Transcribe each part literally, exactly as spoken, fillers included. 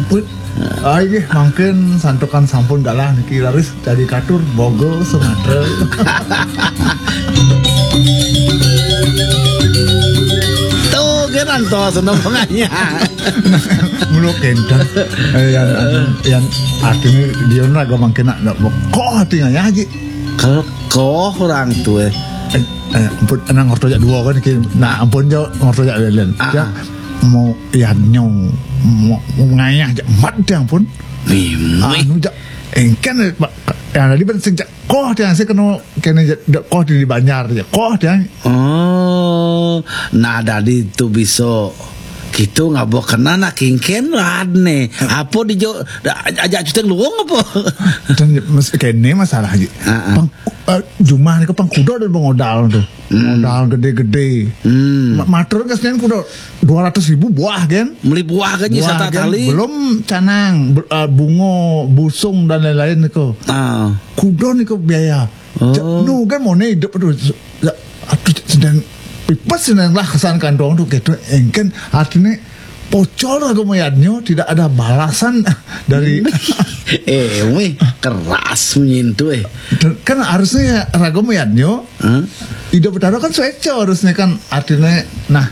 Put. Ai nggih, mangkin santukan sampun galah niki, raris dadi katur Bogo Sumatra. Tuh, kan antos seneng penganya. Mula kenten. Eh, yang, yang artine dia nak mangkin nak, nak bekoh artine ya, Ji. Kekoh orang tuh, eh. Eh, eh, ampun, nang ngerti jak dua kan, ki. Nah, ampun, jo, ngerti jak lelen. Ah, Ya, ah. Mau yadnya, mau, mau ngayah jak mat dia, ampun. Mimih. Anu jak, engken, eh, Pak, yang tadi ben sing jak koh dia, sing kena, kena jak, jak koh di Banjar, jak koh dia. Oh, nah, dadi tu bisa gitu ngabo kena nak kingken lah ne. Apa di jo, da-, ajak cuteng luang apa? Dan mes-, kene masalah, Ji. Ah, ah. Pang, eh, jumah ni ke pang kuda dan modal tu. Hmm. Modal gede-gede. Hmm. Ma-, matur ke Senin kuda dua ratus ribu buah, kan? Beli buah kan, Buah, sata kan? Tali. Belum canang, be-, eh, bungo, busung dan lain-lain ni ke. Ah. Kuda ni ke biaya. Oh. Cak, nu kan mau ni hidup tu. Ya, aduh, sedang pipes sedang lah kesan kantong tu, gitu. Engken, artinya pocol aku mayatnya, tidak ada balasan dari Eh, weh, keras menyentuh, eh. Kan harusnya raga mayatnya, Hah? Ida Betara kan sueco harusnya kan, artinya, nah,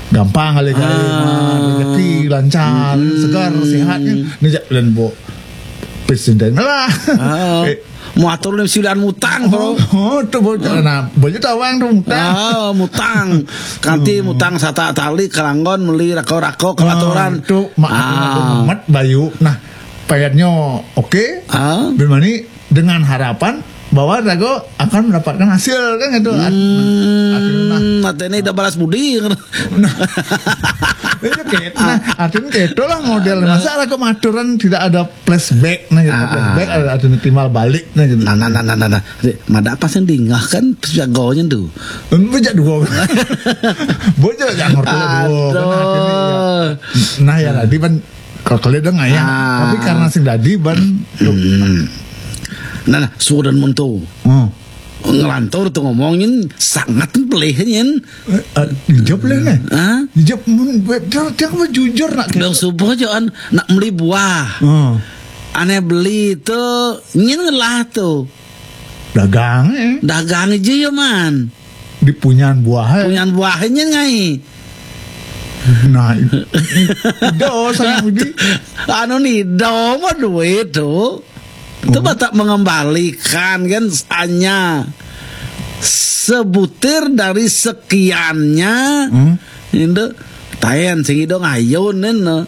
gampang kali kali, Ah. Mah, rezeki lancar, Hmm. segar, sehat, kan. Ni jak lan bo. Presiden lah. Ah. Eh. Mau atur ni silan mutang, bro. Oh, oh, tu bocah. Nah, bocah tawang tu mutang. Ah, mutang. Kanti Hmm. mutang sata tali, kelanggon, meli rako-rako, kelaturan. Ah, tu mak Ah. mat bayu. Nah, payatnya oke. Ah. Bermani dengan harapan bahwa raga akan mendapatkan hasil, kan gitu. At-, Hmm, akhirnya, nah. Mata ini dah balas budi. Nah, itu kayak, nah, artinya kayak itulah model. Nah. Masa raga maturan tidak ada flashback, nah, gitu. Ah, ah. Flashback ada, ada timbal balik, nah, gitu. Nah, nah, nah, nah, nah, nah. Dek, mada apa sih dingah kan jagonya tu? Bejak dua. Bejak jangan dua, kan, akhirnya, ya. Aduh. Nah, ya, tadi kan kalau kalian dengar ya. Ah. Tapi karena sing dadi ban, Hmm. Nah, nah, sudah mentu. Hmm. Ngelantur tu ngomongin sangat pelih nyen. Eh, eh, jawab lah, nah. Hah? Jawab mun, dia, dia apa jujur nak Dong subuh jo an nak beli buah. Hmm. Ane beli tu nyen ngelah tu. Dagang, eh. Dagang aja ya, man. Di punyan buah, eh. Punyan buah nyen ngai. Nah, i-, i-, i-, do saya budi. Anu ni, do mah duit tu. Itu Oh. batak mengembalikan kan hanya sebutir dari sekiannya. Hmm. Indo tayan sing ido ngayun nen, no.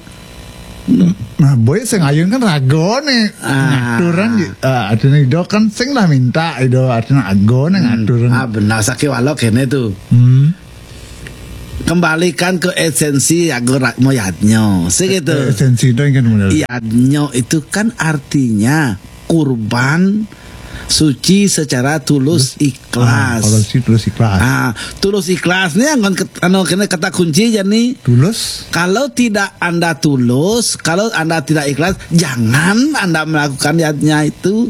Nah, boy sing ayun kan ragone Ah. ngaturan di, ah, artinya ido kan sing lah minta ido artinya agone Hmm. ngaturan. Ah, benar, sakiwalo kene tu. Hmm. Kembalikan ke esensi agora moyatnyo. Segitu. Eh, esensi itu yang kan benar. Yadnyo itu kan artinya kurban suci secara tulus Tulus. Ikhlas. Ah, kalau suci tulus ikhlas. Ah, tulus ikhlas ni yang kan ket-, anu, kena kata kunci je ni. Tulus? Kalau tidak Anda tulus, kalau Anda tidak ikhlas, jangan Anda melakukan niatnya itu.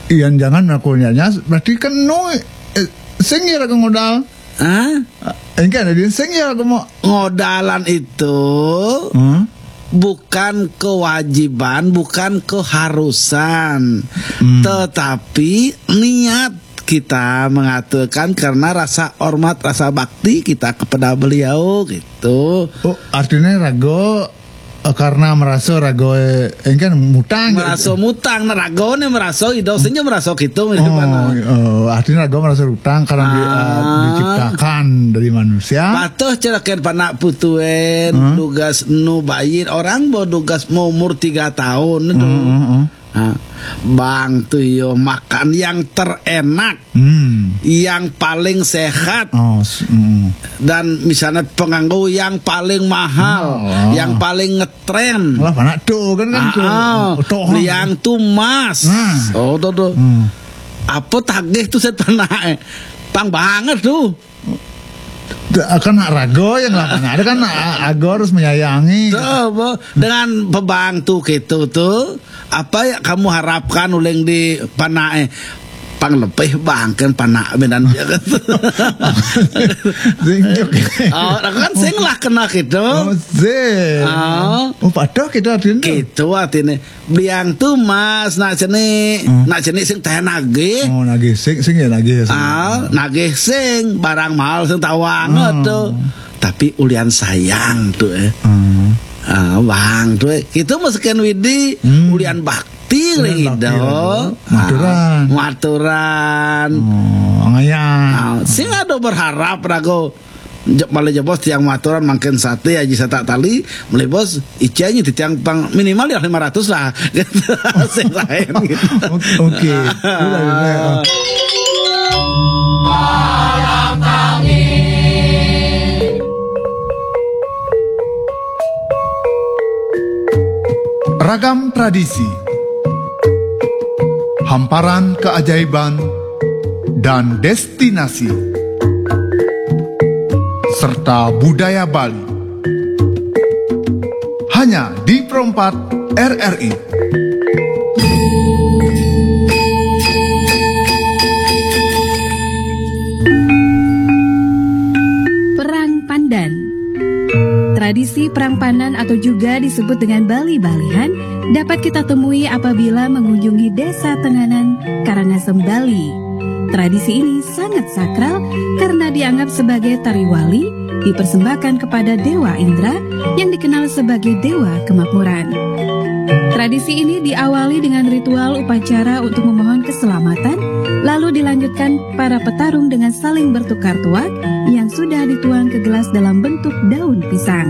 Iya, jangan melakukannya. Berarti kan no, eh, sing ya modal. Hah? Engke ada di sing ya kamu. Ngodalan itu Hmm? bukan kewajiban, bukan keharusan, Hmm. tetapi niat kita mengatakan karena rasa hormat, rasa bakti kita kepada beliau gitu. Oh, artinya rago, eh, karena merasa rago, eh, engke mutang. Merasa mutang, nah, rago ni merasa ido senja merasa gitu, itu Oh, mana? Oh, artinya rago merasa utang karena di-, eh, Ah. diciptakan dari manusia. Patuh cerakan panak putuen, Hmm. dugas nu bayin, orang bo dugas mau umur tiga tahun itu. Hmm, hmm, hmm. Ha, bang tu yo makan yang terenak, Hmm. yang paling sehat, Oh, s-, hmm. dan misalnya penganggu yang paling mahal, Oh. yang paling ngetren. Lah, panak tu kan, kan tu. Ah, ah. Toh. Yang tu mas. Nah. Oh, tu, tu. Hmm. Apa tagih tu set panak, eh? Pang banget tu. Akan nak rago yang lah, ada kan a-, ago harus menyayangi. Tu, apa? Dengan pebang tu gitu tu, apa yang kamu harapkan uleng di panak, eh? Ang lebih bangken panak benan dia kan. Sing juga. Oh, kan sing lah kena gitu. Oh, sing. Ah. Oh, padahal kita artinya. Gitu artinya. Biang tuh mas, nak cenik, hmm, nak cenik sing teh nagih. Oh, nagih sing, sing ya nagih. Ah, nagih sing, barang mahal sing tawang tuh. Tapi ulian sayang tuh eh. Hmm. Ah, bang tuh eh. Itu mah sekian widi, hmm, ulian bakti. Tingling bakti, ido. Maturan. Ah, maturan. Oh, ngayang. Ah, sing ada berharap rago. Malih jebos tiang maturan mangkin sate aji satak tali, malih bos icenyi titiang pang minimal ya lima ratus lah. Gitu. Sing lain gitu. Oke. Ragam tradisi, hamparan keajaiban, dan destinasi, serta budaya Bali. Hanya di Perempat R R I. Perang Pandan. Tradisi perang pandan atau juga disebut dengan Bali-Balihan dapat kita temui apabila mengunjungi Desa Tenganan, Karangasem, Bali. Tradisi ini sangat sakral karena dianggap sebagai tari wali dipersembahkan kepada Dewa Indra yang dikenal sebagai Dewa Kemakmuran. Tradisi ini diawali dengan ritual upacara untuk memohon keselamatan, lalu dilanjutkan para petarung dengan saling bertukar tuak yang sudah dituang ke gelas dalam bentuk daun pisang.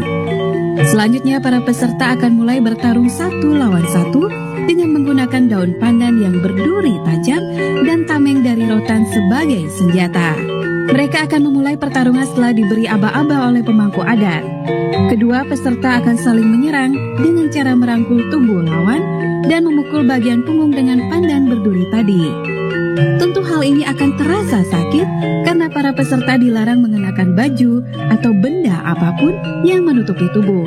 Selanjutnya, para peserta akan mulai bertarung satu lawan satu dengan menggunakan daun pandan yang berduri tajam dan tameng dari rotan sebagai senjata. Mereka akan memulai pertarungan setelah diberi aba-aba oleh pemangku adat. Kedua peserta akan saling menyerang dengan cara merangkul tubuh lawan dan memukul bagian punggung dengan pandan berduri tadi. Tentu hal ini akan terasa sakit karena para peserta dilarang mengenakan baju atau benda apapun yang menutupi tubuh.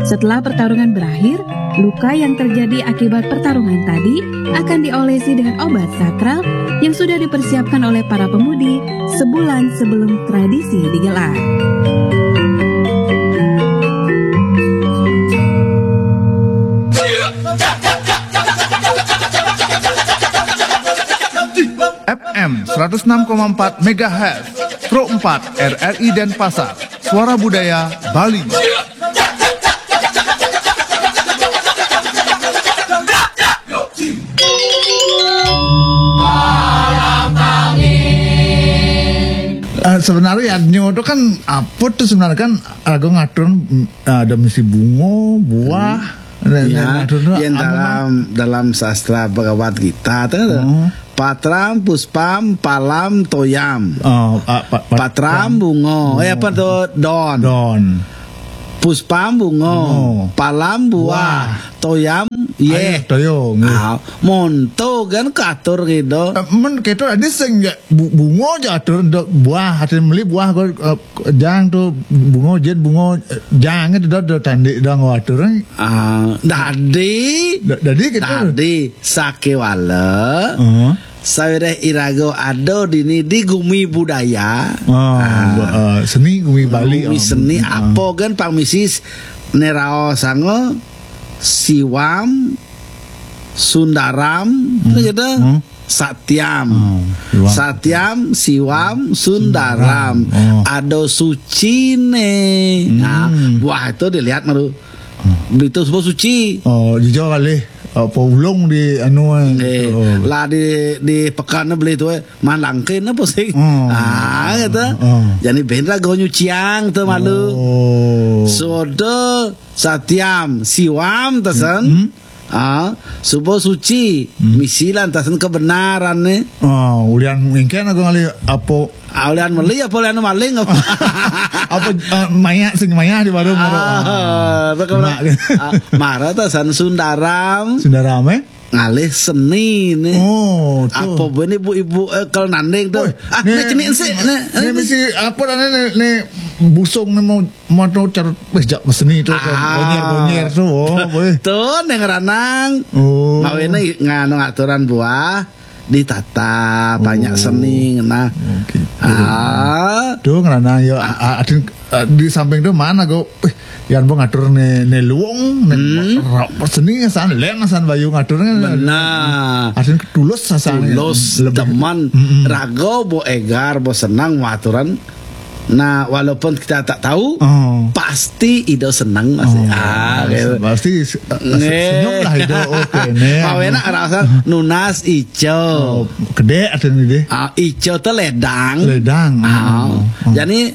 Setelah pertarungan berakhir, luka yang terjadi akibat pertarungan tadi akan diolesi dengan obat sakral yang sudah dipersiapkan oleh para pemudi sebulan sebelum tradisi digelar. F M seratus enam koma empat megahertz, Pro empat R R I Denpasar, Suara Budaya Bali. Eh, sebenarnya yadnya itu kan apa tuh sebenarnya kan raga ngatur, mm, ada misi bunga, buah, dan, ya, dan ngatur yang apa, dalam, dalam sastra Bhagavad Gita tuh. Hmm. Patram, puspam, palam, toyam. Oh, ah, pa-, pa-, patram, bungo. Eh, apa tuh? Don. Don. Puspam, bungo. Bungo. Palam, buah. Buah. Toyam, yeh. Ayo, toyo, nggih. Ah, monto kan katur gitu. Eh, men kita ada sing ya, bu-, bungo aja atur, do-, buah, hasil beli buah, kok, eh, jang tuh, bungo, jen bungo, eh, jang itu do, do, tandi, do, ngatur, eh. Ah, dadi. Da-, dadi kita. Dadi. Sakewala, heeh, sawiréh iraga ada dini di gumi budaya. Ah, ah, bu-, eh, seni gumi Bali, gumi, ah, seni, ah, apa kan pang misi s-, neraosanga Siwam, Sundaram, hmm, gitu. Hmm. Satiam. Hmm, Siwam. Satiam, Siwam, Sundaram. Sundaram. Oh. Ada suci nih. Nah, hmm, buah itu dilihat malu. Beli itu semua suci. Oh, jujur kali. Apa ulung di anu, eh. Eh, oh. Lah di, di pekan beli itu, eh. Malangkin apa sih? Oh. Ah, gitu. Oh. Jadi bendera gua nyuciang tuh malu. Oh. Sodo satiam, siwam tesen. Hmm. Ah, subo suci, hmm, misilan tesen kebenaran nih. Oh, ulian mungkin aku ngali apa Ah, ulian meli apa ulian maling apa? Apa, eh, maya, sing maya di warung, ah, apa? Mak. Ah, mara ta san Sundaram. Sundaram, eh? Ngalih seni nih. Oh, tuh. Apa benih ibu-ibu, eh, kalau nanding tuh. Woi, ah, nih, nih, cenik sih, nih, nih, nih, mesti apa namanya, nih, nih, busung nih mau, mau tuh cer-, weh, jak seni tuh, tuh. Ah. Bonyer, bonyer tuh, oh, boleh. Tuh, neng ranang. Oh. Mawene nganu aturan buah. ditata, banyak seni, nah. Oh, gitu. Ah. Tuh, ngeranang yo, a-, a-, adin, a, di samping tuh mana go, eh, yan bo ngatur ne, ne luung, ne Hmm. ro-, seni asan, lén asan bayu ngatur ne. Benar. Adin tulus asan. Tulus, Lebih. Teman, Mm-mm. rago bo égar, bo senang, waturan. Nah, walaupun kita tak tahu, Oh. pasti Ido senang masih. Oh, Ah, gitu. Pasti se-, se-, Nih. senyum lah Ido. Oke, nih. Pawena rasa nunas ijo. Oh, gede artinya deh. Ah, ijo tuh ledang. Ledang. Ah. Oh, oh. Jadi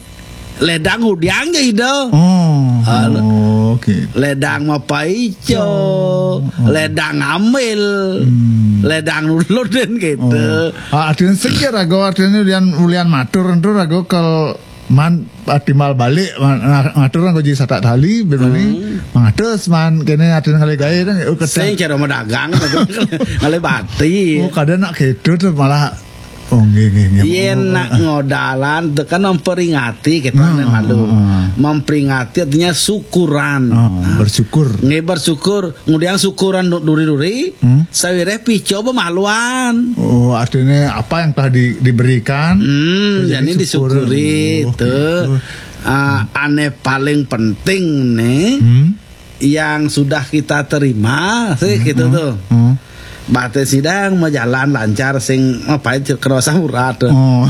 ledang hudiang aja Ido. Oh, Ah, oh, oke. Ledang mapa ijo, Oh, oh. ledang ambil, Hmm. ledang ulun gitu. Oh. Ah, artinya sing ya rago, artinya ulian, ulian matur itu rago kel man, ah, timbal balik, man, nga-, ngatur kan koji satak tali, ben mani, Hmm. mangatus man, kene artinya ngalih gaé kan, oh, kata Sing cara madagang, ngalih bati. Oh, kadang nak gitu tuh malah, oh, nggih, nggih, nggih. Yén Oh, nak ah. ngodalan tuh kan memperingati kita Hmm, nih malu. hmm, hmm. Memperingati artinya syukuran. Oh, Nah, bersyukur. Nggih, bersyukur. Kemudian syukuran du-, duri-duri, Hmm? sawiréh pico bemaluan. Oh, artinya apa yang telah di-, diberikan, Hmm, jadi jadi disyukuri, syukur. Oh, tuh. gitu. Ah, ane paling penting nih, Hmm? yang sudah kita terima, sih Hmm, gitu hmm, tuh. hmm. Baté sidang mau jalan lancar, sing apa itu kerasa murah tuh. Oh.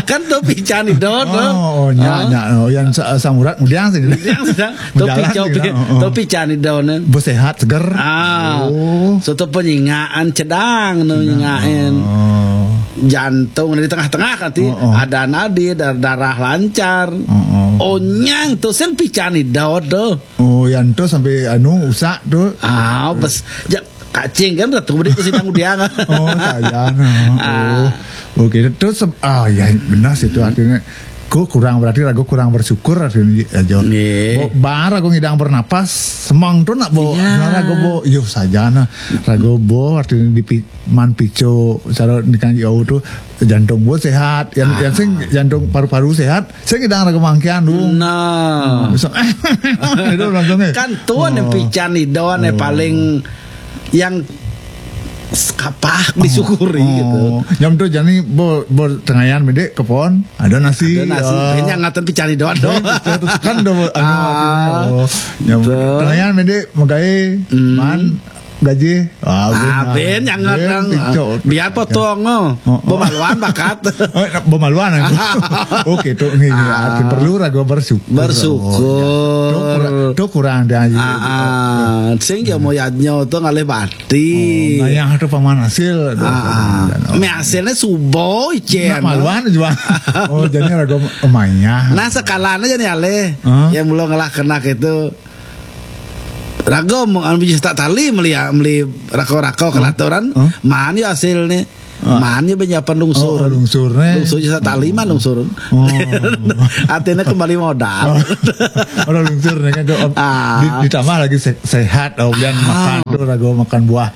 Kan tuh pican Ido tuh. Oh, oh, nya, Ah. nya, oh, yang sa-, samurat kemudian sih. Kemudian sidang, tuh Berjalan pico, gitu, pi-, oh, oh. tuh pican Ido nih. Bo sehat, seger. Ah, Oh. soto penyingaan cedang nu Nah, nyingain. oh. Jantung di tengah-tengah kati Oh, oh. ada nadi dar-, darah lancar. Oh, oh. Onyang tuh sing pican Ido tuh. Oh, yang tuh sampai anu usak tuh. Ah, bes, ja-, kacing kan tuh beri tuh sidang udiang. Oh, saya nah. Ah. Oh. Oke, terus se-, ah, ya benar sih itu artinya. Ku kurang, berarti ragu kurang bersyukur artinya aja. Nggih. Bo-, bar aku ngidang bernapas, semang tuh nak bo, Iya. nah, ragu bo, yo saja nah, ragu bo artinya di pi-, man pico, cara nikang yo tuh jantung bo sehat, yang, Ah. yang sing jantung paru-paru sehat, sing ngidang ragu mangkian tuh. Nah. Bisa, itu langsung eh. Kan tuan yang Oh. pican Ido nih Oh. paling yang s-, kapah disyukuri gitu. Oh, jam tuh jani bo, bo tengayan mendek ke pohon, ada nasi. Ada nasi, Ya. Kayaknya ngatan pican Ido doang. Kan udah, anu, Ah, artinya, oh, jam betul. tengayan mendek megai, Hmm. man, gaji. Ah, Ah, ben, ben yang ben, ngadang. pico. Biar potong, oh. Oh, oh. Pemaluan bakat. Oh, pemaluan aku. Oke, tuh, nih, nih, Ah. arti perlu ragu bersyukur. Bersyukur. Oh, iya. Tuh kurang, tuh kurang dia aja. Ah, ah. Sing ya mau yadnya tuh ngalih bati. Oh, ngayah tuh paman hasil. Aduh, Ah, ah. aduh, aduh. Mé hasilnya subo, Cen. Nak maluan juga. Oh, jadi ragu mayah. Nah, sekalanya jadi alih. Hah? Yang belum ngelah kena itu. Ragu mau anu bisa tak tali meli, meli rako-rako Hah? kelaturan. Hah? Mana ya hasilnya? Ah. Mana ya penyapan lungsur? Oh, lungsur, eh. Lungsur bisa tali mah lungsur. Oh. Artinya kembali modal. Oh. Orang lungsur nih kan tuh, Ah. di-, ditambah lagi se-, sehat, oh, dan Ah. makan tuh ragu makan buah,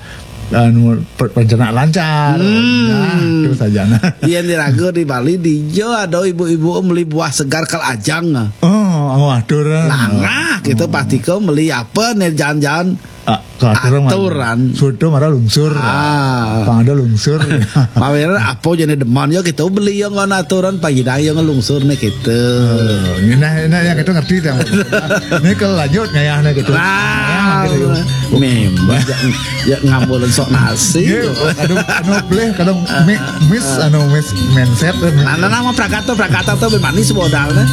anu, per-, pencernaan lancar. Hmm. Nah, terus aja nah. Iya, di ragu di Bali di jo ada ibu-ibu meli buah segar kal ajang. Oh, oh, atur. Nah, nah, gitu pasti kau meli apa nih jalan-jalan Ah, kalau aturan mah Aturan. Soto marah lungsur. Ah. Pang ada lungsur. Mawer apa jenis deman ya kita beli yang ngono aturan pagi dah yang ngelungsur nih kita. Oh, ini nah, ini yang kita ngerti dah. Ini kalau lanjut ngayah nih gitu. Ah, Ngayah gitu, yuk. Memang ya, ya ngambul sok nasi. Iya, aduh, anu boleh kadang mi-, miss anu miss mindset. Nah, nah, nama prakata prakata tuh manis modalnya.